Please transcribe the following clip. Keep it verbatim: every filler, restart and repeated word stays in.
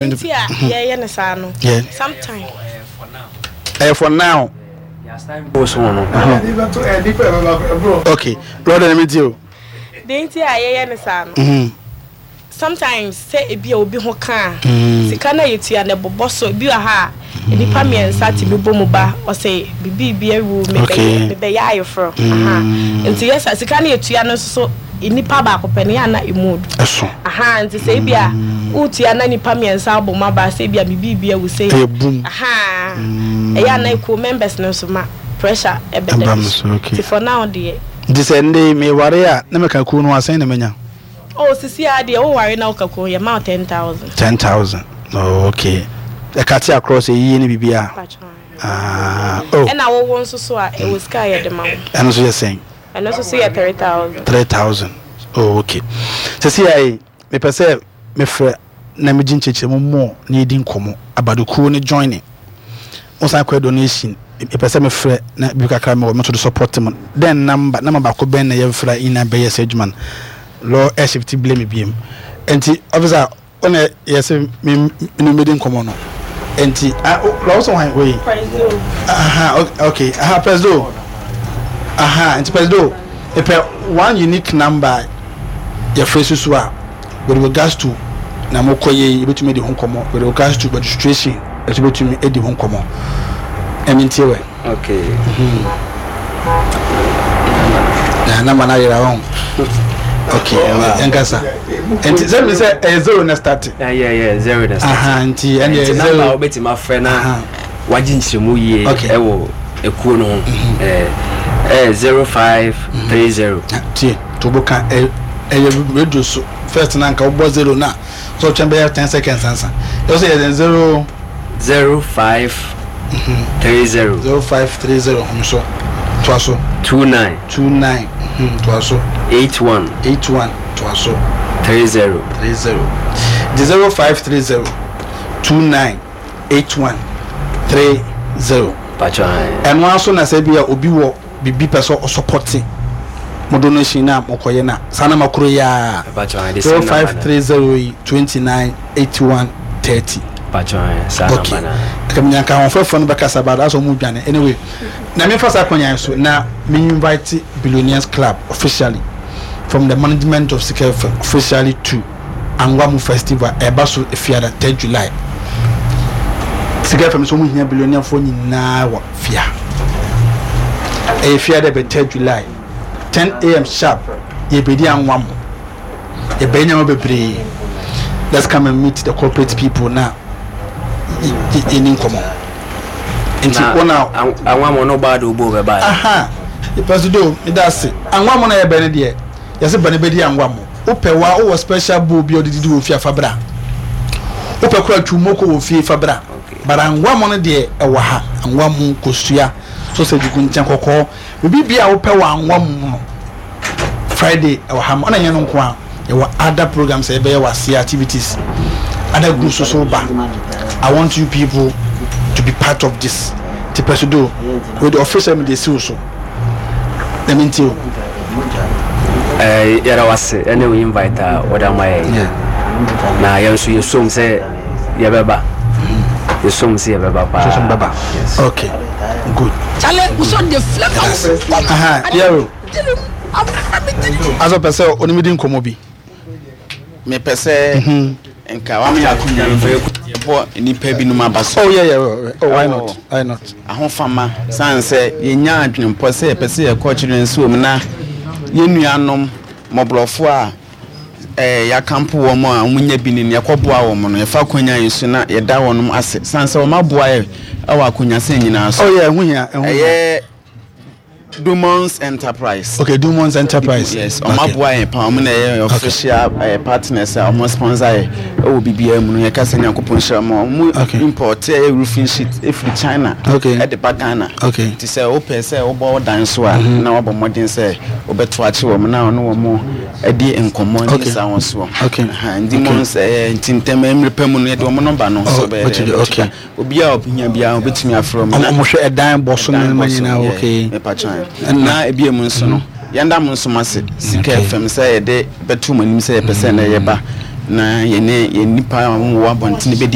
Nti a yɛyɛ no saa no, Yeah. sometime Ɛyɛ for now. Okay, lɔɔre na mi ti o. Deɛ nti a yɛyɛ no saa no, Mhm. sometimes sɛ ebi a obi ho ka a, Mm. sika no a yɛtua no ɛbobɔ so. Ebi wɔ ha a nnipa mmiɛnsa tumi bɔ mu ba, ɔsɛ biribi bi awu, Okay. mebɛyɛ mebɛyɛ ayeforɔ. Aha. Nti yɛ sa sika no yɛtua no nso so, nnipa baako pɛ no yɛ ana emu odu. Ɛso. Aha, nti sɛ ebi a wotua na nnipa mmiɛnsa abɔ mu aba sɛ ebi a biribi bi awu sɛ Ɛyɛ boom. Aha, ɛyɛ ana ekuo members no nso ma pressure ɛbɛda Ɛba bi mo so. so, okay. Nti for now deɛ, Nti sɛ ndé meware a na meka kuo no asɛn na menya? Oh, sisi a deɛ, woware na woka kuo, yɛ ma wo ten thousand. Ten thousand. Oh, okay. Ɛka te across eyie ne biribi a. Ah, oh. Ɛna wɔwɔ nso so a, ɛwɔ sika a yɛde ma wo. Ɛno nso yɛ sɛn? Ɛno nso so yɛ three thousand. Three thousand. Oh, okay. Sɛsi ayi, mepɛ sɛ mefrɛ na megye nkyerɛkyerɛ mu mmɔ na yɛdi nkɔmmɔ abadokuo ne joining wosan kɔ donation. Mepɛ sɛ mefrɛ na bi kakra mewɔ me nso de support mu. Then number number baako bɛn na yɛmfrɛ nyinaa bɛyɛ sɛ adwuma no law ɛshift blame biem. Nti officer, ɔna yɛsɛ me me medi nkɔmmɔ no, nti ah, o la wosɛ hwan wei? Aha, okay, aha, Presido. Aha, nti Presido, mepɛ one unique number yɛfrɛ susu a with regards to na mokɔ yɛ yi, yɛbɛtumi adi ho nkɔmmɔ with regards to registration, ɛso bɛtumi adi ho nkɔmmɔ. Ɛmi ntie wɛ. Okay. Na number no ayera wɔn. Okay, yɛnkasa. Nti sɛ mi sɛ ɛyɛ zero na start. Yeah, yeah, yeah, zero na start. Aha, nti ɛne ɛyɛ Nti number a zero. Wobɛtumi afrɛ na Aha. wagye nkyerɛmu yie Okay. ɛwɔ ekuo no ho ɛɛ ɛyɛ zero five three zero. Tie, to bo ka ɛ ɛyɛ radio so first na nka wobɔ zero na so ɔtwɛn bɛyɛ ten seconds ansa ɛwɔ sɛ yɛ zero. Zero five three zero. Zero five three zero nso toa so. Two nine. Two nine, toa so. Eight one. Eight one, toa so. Three zero. Three zero. The zero five three zero two nine eight one three zero. Patro. Ɛno aso na sɛ bi a obi wɔ bibi pɛ sɛ ɔsupport mo donation na mokɔyɛ na saa na makoro yi a. Patro, the zero same five number na. three zero yi twenty nine eighty one thirty. Patro, saa Okay. number na. Ɛka mi nyanka ahoɔfɛfoɔ no bɛkasa ba asɛ ɔmo dwane. Anyway, na mefa saa akɔnya yi so na me invite Billionaires Club officially from the management of Sika F M officially to Angwamu Festival ɛba so Efiada third July. Sika F M so ɔmo hia billionaire foɔ nyinaa wɔ fia. Ɛyɛ Fiada bɛ third July, ten a m sharp. Yɛbɛdi Angwamu, yɛbɛyɛ nneɛma bebree. Let's come and meet the corporate people na yɛni nkɔmmɔ. Nti wɔn a Anwamɔ no baa de obo bɛba. Aha, Presido, meda ase. Angwamu na yɛbɛn no deɛ, yɛsɛ bɛn bɛdi angwamu. Wopɛ wa wowɔ special bowl bi a ɔde didi wɔ fie afa bra. Wopɛ kora twumoko wɔ fie fa bra, but angwamu no deɛ ɛwɔ ha. Angwamu, kosua, sausage gu nkyɛn kɔkɔɔ, biribi bi a wopɛ wɔ angwamu no, Friday ɛwɔ ha. Ɔna nyɛ no nko a, yɛwɔ other programs a yɛbɛyɛ wɔ aseɛ, activities, other groups so ba. I want you people to be part of this. Ti Presido, with the official mi de si wo so na mi nti o. Ɛɛ yɛrɛ wase ɛne wo invite a wɔde ama yɛn. Yeah. Na yɛn nso yɛsom sɛ yɛbɛba, yɛsom sɛ yɛbɛba paa. So so bɛba. Yes. Okay, good. Chale, wosɔ de flavour. Aha, yɛro asɔ pɛ sɛ onim di nkɔmɔ bi. Mepɛ sɛ nka wame akonya no yɛbɔ nnipa binom aba so. Oh yeah yeah oh why not, why not? Ahofama sane sɛ yɛnya adwenempɔ sɛ yɛpɛ sɛ yɛkɔ children's home na yɛn nuanom mmɔborɔfoɔ a eh, yɛakampo wɔn a wɔnya bi ne no yɛkɔboa wɔn no, yɛfa akonya yi so na yɛda wɔn ase sane sɛ wɔn aboa yɛ ɛwɔ akonyasɛn nyinaa so. Oh yeah, ɛho hia, ɛho hia. Ɛyɛ Dumons Enterprise. Okay, Dumons Enterprise. Yes, ɔmo aboa yɛn paa. Ɔmo na ɛyɛ official eh, partners a ɔmo sponsor yɛ ɛwɔ biribiara mu no. Yɛka sɛ Nyankopɔn nhyira mo. Ɔmo Okay. import ɛyɛ roofing sheet efiri China Okay. ɛde ba Ghana. Okay. Nti sɛ wopɛ sɛ wobɔ wo dan so a, na wabɔ mmɔden sɛ wobɛto akye wɔn na ɔno wɔn adi nkɔmmɔ ne Okay. saa wɔn soɔ. Okay. Aha, Dumons ɛyɛ nti ntɛm mmerɛ pa mu no yɛde wɔn number no Oh, so bɛyɛ bɛtumi, dɛ okay. Obiara a ɔhia biara obɛtumi afrɛ wɔn. ɔmo ɔmo hwɛ ɛdan bɔ so ne nneɛma nyinaa, okay. Mepatwa na ebi mu nso no, yɛnda mo nso ase Sika Okay. F M sɛ yɛde bɛto mo anim sɛ yɛpɛ sɛ na yɛba Na yɛne yɛn nipa a wɔwɔ abɔntene bɛdi.